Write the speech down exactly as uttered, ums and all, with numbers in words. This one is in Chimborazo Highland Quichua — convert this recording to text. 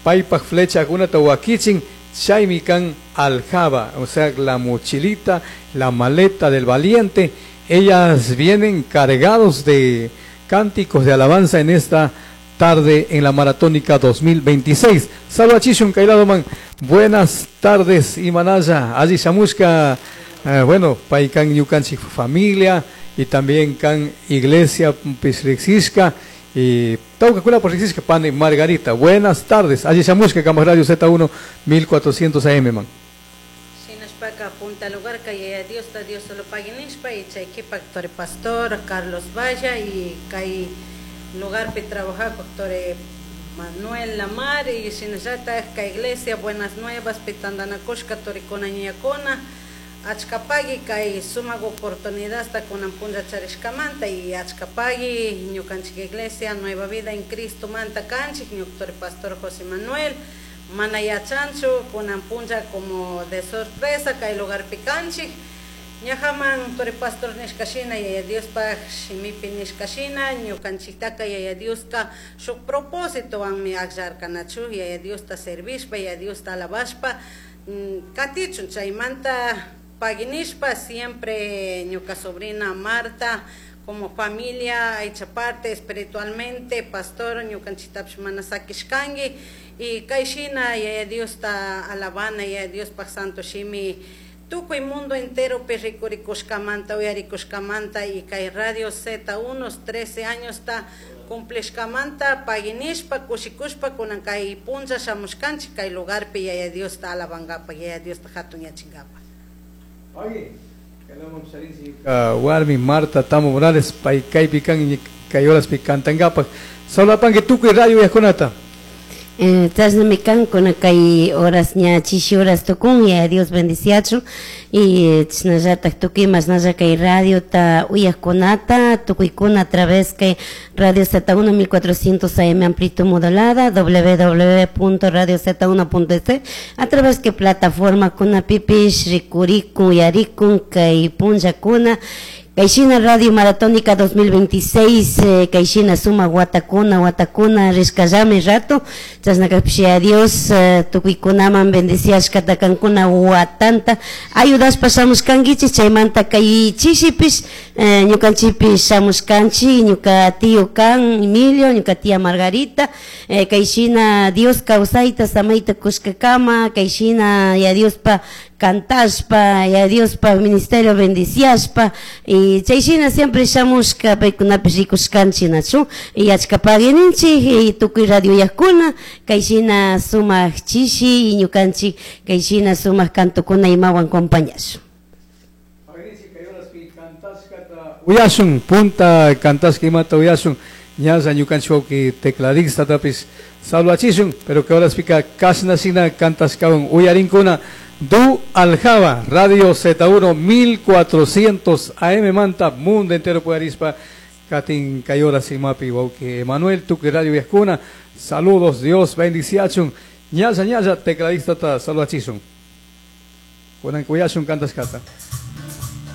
Paipaj flechakunata wakichin chaymi kan aljaba, o sea, la mochilita, la maleta del valiente. Ellas vienen cargados de cánticos de alabanza en esta tarde en la Maratónica dos mil veintiséis. Salvachishun Kailadoman, buenas tardes, Imanaya, allí shamushka, eh, bueno, paikan ñukanchik familia y también kan iglesia pisrixishka y taucacuna por rixiska pani Margarita. Buenas tardes, allí shamushka Camas Radio Z uno mil cuatrocientos A M man. Shinashpaka punta lugar que Dios ta Dios solo paguinishpa y chaykipak tore pastor Carlos Valla y kay lugar pe trabajar doctor Manuel Lamar y shinallata ka iglesia Buenas Nuevas pitandanakushka torikuna ñakuna achkapagui kay sumaq oportunidad hasta kunan punlla charishkamanta y achkapagui ñukanchik iglesia Nueva Vida en Cristo manta kanchik ñuktore pastor José Manuel mana yachanchu kunan punlla como de sorpresa kay lugar pikanchik ñajaman tore pastor nishkashina yaya Diospaj shimipi nishkashina ñukanchiktaka yaya Dioska shuk propósitowanmi akllarkanachu yaya Diosta servishpa yaya Diosta alabashpa katichun chaymanta paguinishpa siempre ñuka sobrina Marta como familia hecha parte espiritualmente pastor ñukanchiktapish mana sakishkanki y kayshina yaya Diosta alabana yaya Diospaj santo shimi tukuy mundo entero rikurikuskamanta uyarikuskamanta y kay Radio Z uno trece años ta cumplishkamanta paguinishpa kushikushpa kunan kay punlla shamushkanchik kay lugarpi yaya Diosta alabankapa yaya Diosta hatunyachinkapak. Oye, warmi Marta Tamo Morales pay kaypi kan kay horaspi kantankapak solapanki tukuy radio uyajkunata. Chashnami kan kuna kay horas ña chishi horas tukun ya Dios bendiciachun y chashnallatak tukuy mashnalla kay radiota uyajkunata tukuykuna a través kay Radio Z uno mil cuatrocientos A M amplitud modulada w w w punto radio z uno punto e a través que plataforma kuna pipish rikurikun uyarikun kay punllakuna Kayshina Radio Maratónica dos mil veintiséis, eh, kayshina suma watakuna, watakuna, rishkallami rato, chashnakapshi a Dios, eh, tukuykunaman bendiciashkata kankuna watanta, ayudashpa shamushkankichik, chaymanta kay chishipish, eh, ñukanchikpish shamushkanchik, ñuka tío kan Emilio, ñuka tía Margarita, eh, kayshina Dios kawsayta, samayta kushkakama, kayshina ya Diospa cantashpa, ya Diospa ministerio bendiciashpa, y chayshina siempre shamushka paykunapish rikushkanchik nachu, y achkapaguininchik, y tukuy radio uyajkuna, kayshina sumaq chishi, y ñukanchik kayshina sumaq kantukuna imawan compañashun. Uyashun, punta kantashka imata uyashun, ñalla ñukanchik wawqi tecladista tapis salvachishun, pero que horaspika kashnashina kantashkawan uyarinkuna. Du Aljaba, Radio Z uno mil cuatrocientos A M Manta, mundo entero puyarispa, Katin Kayora Simapi, wawqi Emanuel, tukuy radio uyajkuna, saludos, Dios bendiciachun, ñalla ñalla, tecladista ta salvachishun. Kunan kuyashun kantashkata.